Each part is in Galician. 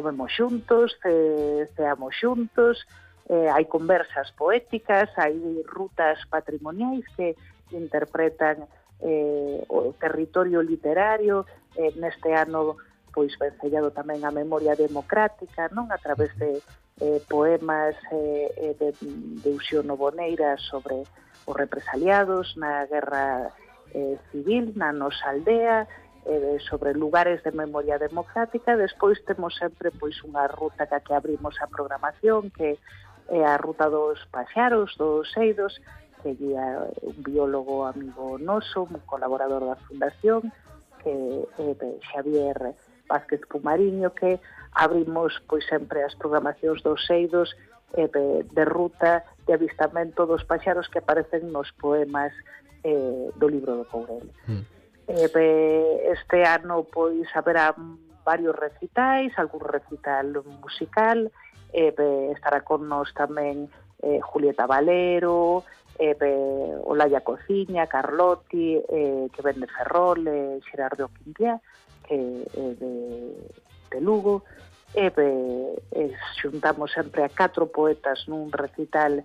comemos xuntos, ceamos xuntos, hai conversas poéticas, hai rutas patrimoniais que interpretan o territorio literario. Neste ano pois vencellado tamén a memoria democrática, non, a través de poemas de Uxío Boneira sobre os represaliados na guerra civil, na nosa aldea, sobre lugares de memoria democrática. Despois temos sempre pois unha ruta que abrimos a programación, que é a ruta dos paxaros, dos eidos, que guía un biólogo amigo noso, un colaborador da Fundación, que é Xavier Vázquez Pumariño, que abrimos pois sempre as programacións dos eidos de ruta de avistamento dos paxaros que aparecen nos poemas do libro do Courel. Este ano pois haberá varios recitais, algún recital musical, estará con nós tamén Julieta Valero, Olaya Cociña, Carlotti, que ven de Ferrol, Xerardo Quintiá, que é de Lugo. Xuntamos sempre a 4 poetas nun recital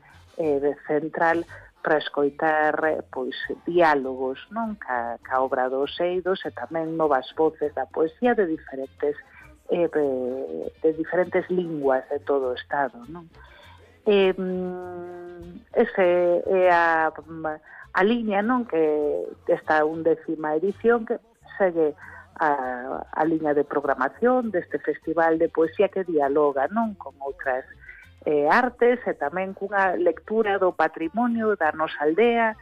central para escoitar pois diálogos, non, ca obra dos eidos, e tamén novas voces da poesía de diferentes linguas de todo o Estado, non? Ese é a liña, non, que esta 11ª edición, que segue a liña de programación deste festival de poesía que dialoga, non, con outras artes, e tamén cunha lectura do patrimonio da nosa aldea,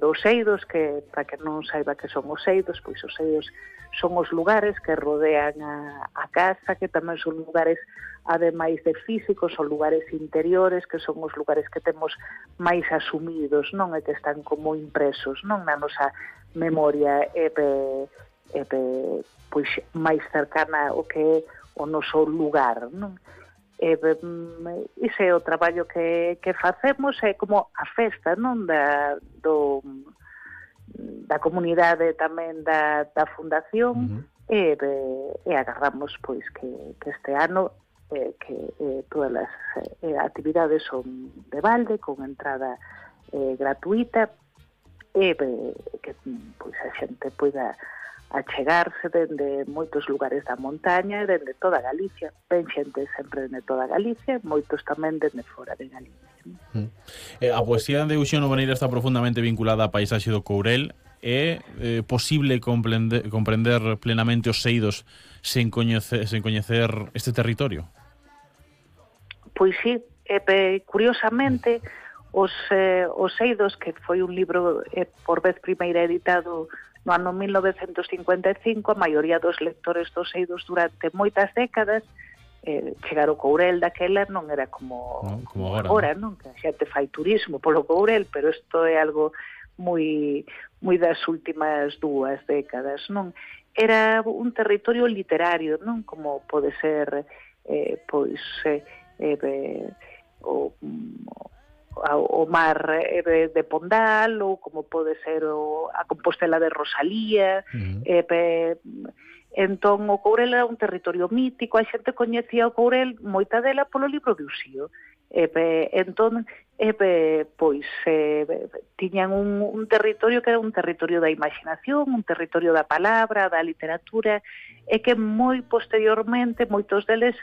dos eidos, que para que non saiba que son os eidos, pois os eidos son os lugares que rodean a casa, que tamén son lugares, ademais de físicos, son lugares interiores, que son os lugares que temos máis asumidos, non, e que están como impresos, non, na nosa memoria, pois máis cercana ao que é o noso lugar, non? Ese é o traballo que facemos, é como a festa, non, da comunidade tamén da Fundación. E agardamos pois que este ano todas as actividades son de balde, con entrada gratuita, e que pois a xente poida achegarse dende moitos lugares da montaña e dende toda Galicia. Ven xente sempre dende toda Galicia, moitos tamén dende fora de Galicia. A poesía de Uxío Boneira está profundamente vinculada á paisaxe do Courel. É posible comprender plenamente os eidos sen coñecer este territorio? Pois sí, curiosamente os eidos, que foi un libro por vez primeira editado no ano 1955, a maioría dos lectores dos eidos durante moitas décadas, chegar ao Courel daquela non era como agora, non? Que a xente fai turismo polo Courel, pero isto é algo moi das últimas 2 décadas, non? Era un territorio literario, non? Como pode ser o mar de Pondal, ou como pode ser a Compostela de Rosalía. Entón o Courel era un territorio mítico, a xente coñecía o Courel, moita dela polo libro de Uxío. Entón pois tiñan un territorio que era un territorio da imaginación, un territorio da palabra, da literatura, e que moi posteriormente moitos deles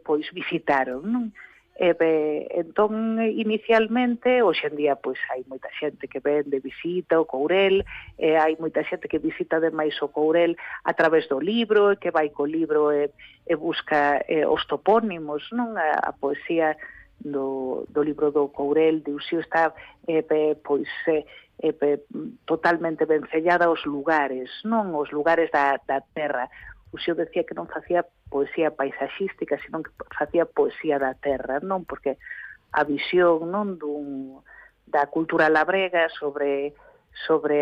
pois visitaron, non? Entón, inicialmente, hoxe en día, pois hai moita xente que ven de visita o Courel, hai moita xente que visita ademais o Courel a través do libro, que vai co libro e busca os topónimos, non? A poesía do libro do Courel de Uxío está totalmente vencellada aos lugares, non? Os lugares da terra. Uxío decía que non facía poesía paisaxística, senón que facía poesía da terra, non? Porque a visión, non, da cultura labrega sobre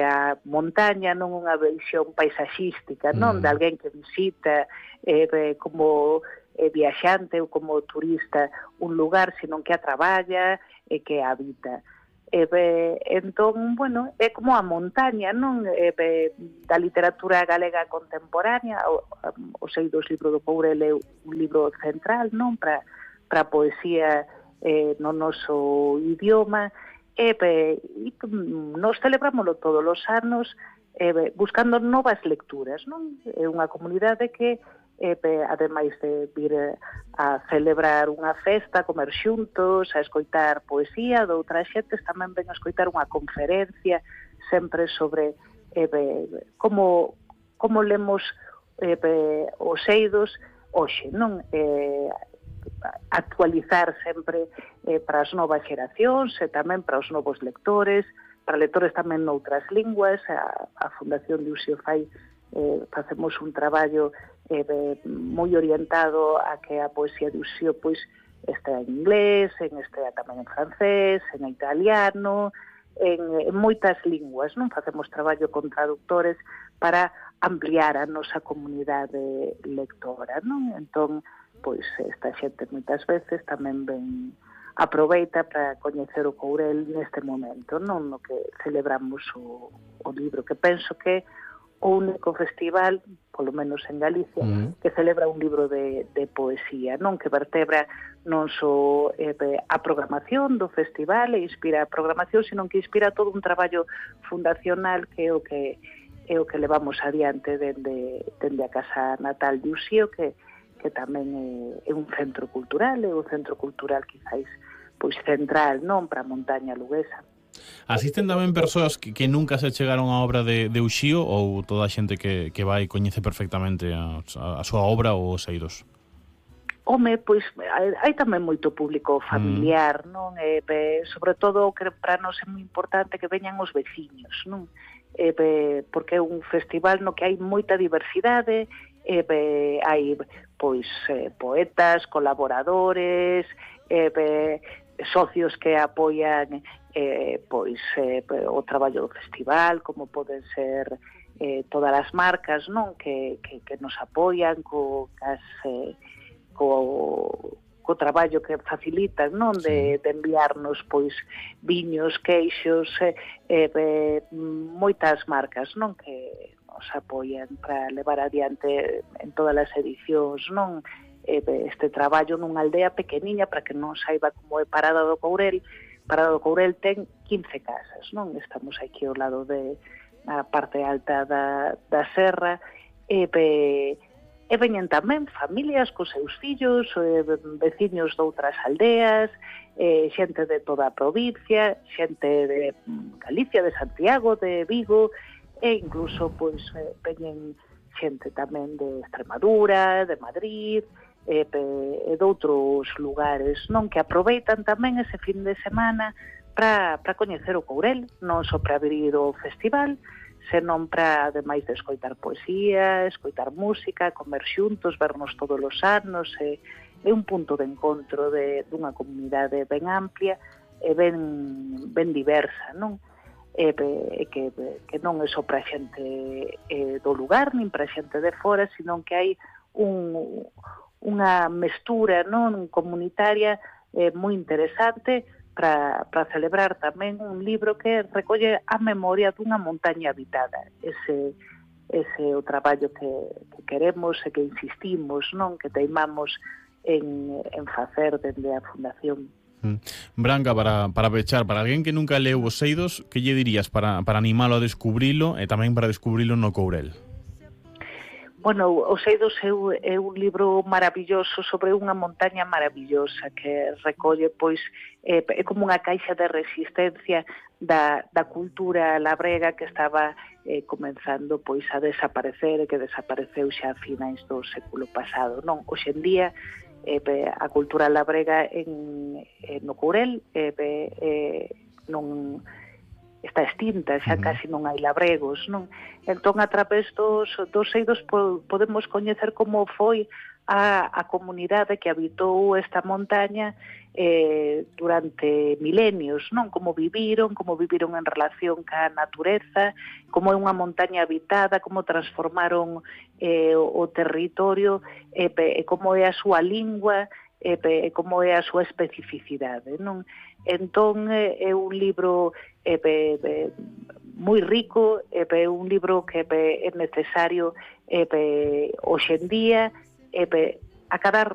a montaña non unha visión paisaxística, non? De alguén que visita como viaxante ou como turista un lugar, senón que a traballa e que a habita. Entón, bueno, é como a montaña, non? Da literatura galega contemporánea, os eidos libro do Courel é un libro central, non? Para a poesía no noso idioma, nos celebrámoslo todos os anos buscando novas lecturas, non? É unha comunidade que ademais de vir a celebrar unha festa, a comer xuntos, a escoitar poesía de outras xentes, tamén ven a escoitar unha conferencia sempre sobre como lemos os eidos hoxe, non? Actualizar sempre para as novas xeracións e tamén para os novos lectores, para lectores tamén noutras linguas. A Fundación de Uxío fai facemos un traballo moi orientado a que a poesía de Uxío pois estea en inglés, estea tamén en francés, en italiano, en moitas linguas, non? Facemos traballo con traductores para ampliar a nosa comunidade lectora, non? Entón, pois esta xente moitas veces tamén aproveita para coñecer o Courel neste momento, non? No que celebramos o libro, que penso que o único festival, polo menos en Galicia, que celebra un libro de poesía, non? Que vertebra non só a programación do festival e inspira a programación, sino que inspira todo un traballo fundacional que é o que levamos adiante dende a casa natal de Uxío, que tamén é un centro cultural, é un centro cultural quizáis pois central, non? Para a montaña luguesa. Asisten tamén persoas que nunca se chegaron á obra de Uxío, ou toda a xente que vai coñece perfectamente a súa obra ou os eidos? Home, pois hai tamén moito público familiar, non? Sobre todo, que para nós é moi importante que veñan os veciños, non? Porque é un festival no que hai moita diversidade, hai pois poetas, colaboradores, socios que apoian o traballo do festival, como poden ser todas as marcas, non? Que nos apoian co traballo que facilitan, non? De enviarnos pois viños, queixos, moitas marcas, non? Que nos apoian para levar adiante en todas as edicións, non? Este traballo nunha aldea pequeniña, para que non saiba como é Parada do Courel. Parada do Courel ten 15 casas, non? Estamos aquí ao lado na parte alta da serra, e veñen tamén familias cos seus fillos, veciños de outras aldeas, xente de toda a provincia, xente de Galicia, de Santiago, de Vigo, e incluso pois veñen xente tamén de Extremadura, de Madrid, e de outros lugares, non? Que aproveitan tamén ese fin de semana para coñecer o Courel, non só para abrir o festival, senón para, ademais de escoitar poesía, escoitar música, comer xuntos, vernos todos os anos, é un punto de encontro dunha comunidade ben amplia e ben diversa, non? Que non é só para xente do lugar, nin para xente de fora, senón que hai unha mestura, non, comunitaria moi interesante para celebrar tamén un libro que recolle a memoria dunha montaña habitada. Ese é o traballo que queremos e que insistimos, non, que teimamos en facer dende a Fundación. Branca, para pechar, para alguén que nunca leu os eidos, que lle dirías para animalo a descubrilo e tamén para descubrilo no Courel? Bueno, Os eidos é un libro maravilloso sobre unha montaña maravillosa que recolle, pois, é como unha caixa de resistencia da cultura labrega que estaba comenzando pois a desaparecer e que desapareceu xa a finais do século pasado, non? Hoxe en día a cultura labrega no Courel non está extinta, xa casi non hai labregos, non? Entón, a través dos eidos podemos coñecer como foi a comunidade que habitou esta montaña durante milenios, non? Como viviron en relación ca natureza, como é unha montaña habitada, como transformaron o territorio, como é a súa lingua, como é a súa especificidade, non? Entón, é un libro moi rico, é un libro que é necesario hoxe en día, acadar